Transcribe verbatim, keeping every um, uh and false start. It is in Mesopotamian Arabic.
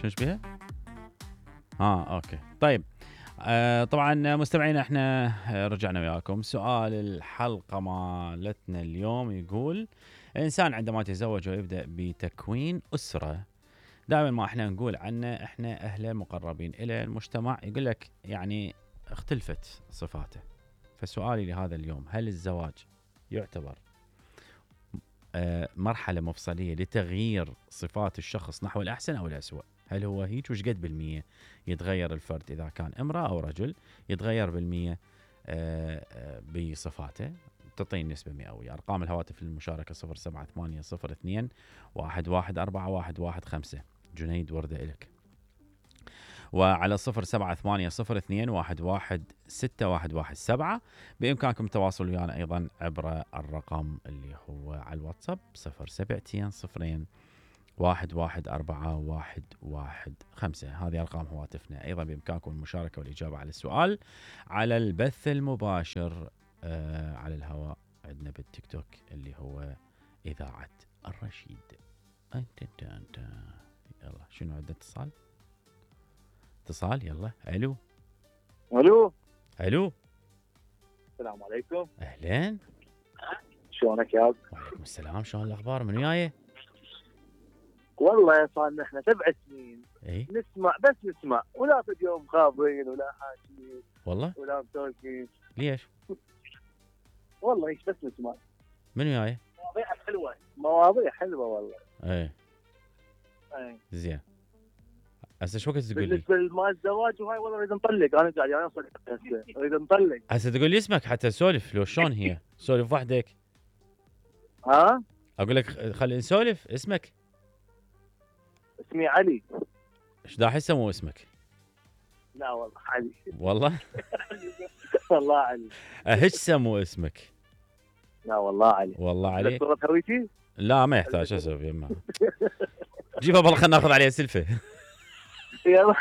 شو بيها؟ اه اوكي طيب. آه طبعا مستمعينا احنا رجعنا وياكم. سؤال الحلقة مالتنا اليوم يقول: الانسان عندما يتزوج ويبدأ بتكوين أسرة، دائما ما احنا نقول عنه احنا اهله مقربين الى المجتمع، يقول لك يعني اختلفت صفاته. فسؤالي لهذا اليوم: هل الزواج يعتبر آه مرحلة مفصلية لتغيير صفات الشخص نحو الأحسن أو الأسوأ؟ هل هو هيك؟ وش قد بالمية يتغير الفرد إذا كان امرأة أو رجل؟ يتغير بالمية آه آه بصفاته؟ تعطيني نسبة مئوية. أرقام الهواتف للمشاركة صفر سبعة ثمانية صفر اثنين واحد واحد أربعة واحد واحد خمسة. جنيد وردة إلك. وعلى صفر سبعة ثمانية صفر اثنين واحد واحد ستة واحد واحد سبعة بإمكانكم التواصل ويانا أيضا عبر الرقم اللي هو على الواتساب صفر سبعتين صفرين واحد واحد أربعة واحد واحد خمسة. هذه أرقام هواتفنا. أيضا بإمكانكم المشاركة والإجابة على السؤال على البث المباشر آه على الهواء عندنا بالتيك توك اللي هو إذاعة الرشيد. أنت أنت أنت يلا شنو عندنا؟ اتصال اتصال يلا. الو الو الو السلام عليكم. اهلين، شلونك يا ابو؟ وعليكم السلام. شلون الاخبار؟ من وياي؟ والله صار لنا احنا سبع سنين اي نسمع بس نسمع ولا في يوم خابرين ولا حاكيين والله. ولا مسولفين. ليش؟ والله ايش بس نسمع. من وياي؟ مواضيع حلوه مواضيع حلوه والله. اي اي زين. هسه شو وقت تقول لي؟ بالنسبه لمال الزواج وهاي والله اريد نطلق. انا قاعد يعني اوصل هسه اريد نطلق. هسه تقول لي اسمك حتى نسولف. لو شلون هي؟ سولف وحدك. ها؟ اقول لك خلينا نسولف. اسمك؟ اسمي علي. ايش دا احسه مو اسمك؟ لا والله علي. والله والله علي. ايش سمو اسمك؟ لا والله علي. والله علي. صورة هويتي؟ لا ما يحتاج. اسوي يما جيبها بالله خلينا ناخذ عليها سلفه. يلا